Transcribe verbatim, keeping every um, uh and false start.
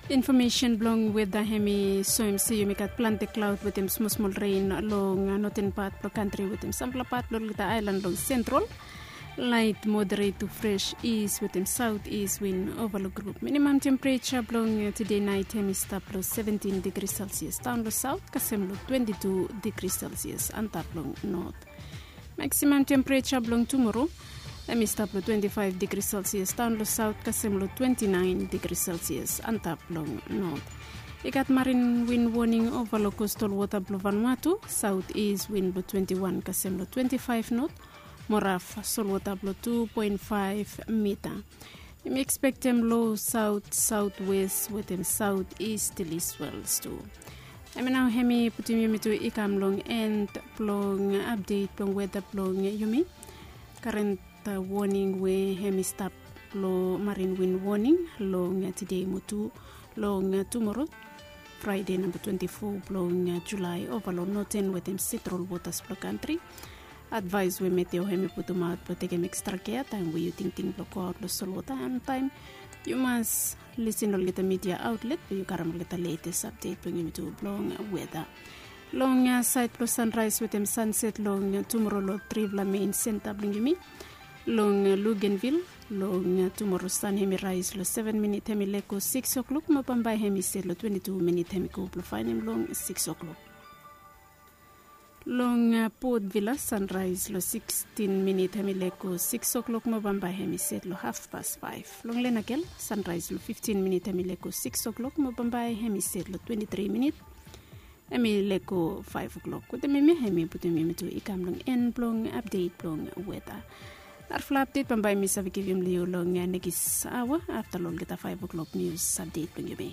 Infomesen blong weda hem i soem se yumi gat plante klaod wetem smosmol ren long noten pat blong kantri wetem sampela pat blong olgeta aelan long sentral. Lait moderet tu fres is wetem saot is win ova long grup. Minimam tempereja blong tide nait hem i stap long seventin digri selsias daon long saot kasem long twenti tu digri selsias antap long not. Maksimam tempereja blong tumoro hem i stap long twenti faef digri selsias daon long saot kasem long twenti naen digri selsias antap long not. I gat marin win woning ova long kostal wota blong Vanuatu, saot is win blong twenti wan kasem long twenti faef not, mo raf solwota blong tu poen faef mita. Yumi ekspektem lo saot saotwes wetem saot is stiliswels tu. Hem i nao hem i putum yumi tu i kam long en blong apdet blong weda blong yumi. Karen woning we hem i stap long marin win woning long tide mo tu long tumoro, Fraide namba twenti fo blong Julae ova long noten wetem sentral wotas blong kantri. Advaes we meteo hem i putumaot blong tekem ekstra kea taem we yu tingting blong goaot long solwota antaem yu mas lisin olgeta midia aotlet blong yu karim olgeta letes apdet blong yumi tu blong weda. Long saed blong sanraes wetem sanset long tumoro long trifala mein senta blong yumi. Long Lugenvil long tumoro san hem i raes long seven minit hem i lego sikis oklok mo bambae hem i set long twenti tu minit hem i go blong faenem long sikis oklok. Long Port Vila sanraes long sikstin minit hem i lego sikis oklok mo bambae hem i set long hafpas faef. Long Lenakel sanraes long fiftin minit hem i lego sikis oklok mo bambae hem i set long twenti tri minit hem i lego faef oklok. Wetem yumi hem i putum yumi tu i kam long en blong apdet blong weda. Narafala apdet bambae mi save givim long yu long nekis aoa afta long olgeta faef oklok nius apdet blong yumi.